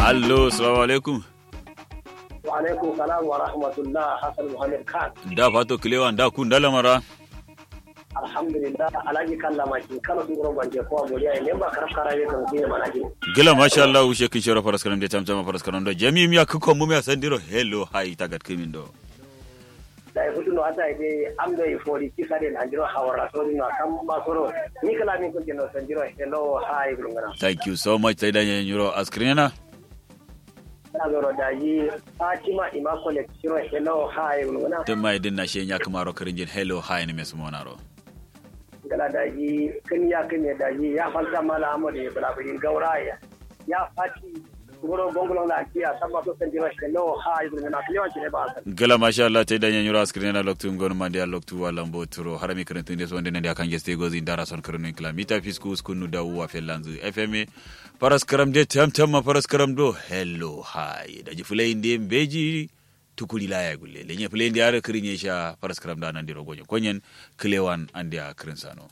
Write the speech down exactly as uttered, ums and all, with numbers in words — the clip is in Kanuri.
Allo, salamu alaikum. Wa alaikum salam wa rahmatullah, hasan muhammad khan. Nda fato kilewa nda ku nda lamara. Alhamdulillah, alhaji kalla makin kano sun guro banje kowa boriya ne ba karaf kara ye kan sun yi mana jin. Gila masha Allah, wushe kin shero faras karam de tamtama faras karam do jami'im ya kukon mum ya sandiro hello hai tagat kimin do. Da ya fito no ata ide am do ifori kisa de na jiro hawara so no kan ba soro ni kala min kun jino sandiro hello hai gurungana. Thank you so much, tai da nyiro askrinena. Tana zoro daji fatima immaculate shiro hello hi gulguna. Tun mai din na shi nya kuma ro kirinjin hello hi ni mesu monaro. Gala daji kin ya kin ya daji ya falta mala amadu ya bala birin gauraya ya fati guro gongulon la kiya sabba to san jiro hello hi gulguna kiyo ci ne ba san. Gala masha Allah, tai da nyiro askrinena loktu ngon mandi a loktu wa lambo turo harami kirin tun de so wanda ne da kan geste gozi ndara son kirin kila mita fisku skunu da uwa felanzu fma. Faras karam de tam tam ma faras karam do hello hi daji fulayin de mbeji. Tukuri laya gulle lenye fulayin de har kirin ye sha faras karam da nan de rogonye konyen. Kilewan an de a kirin sano.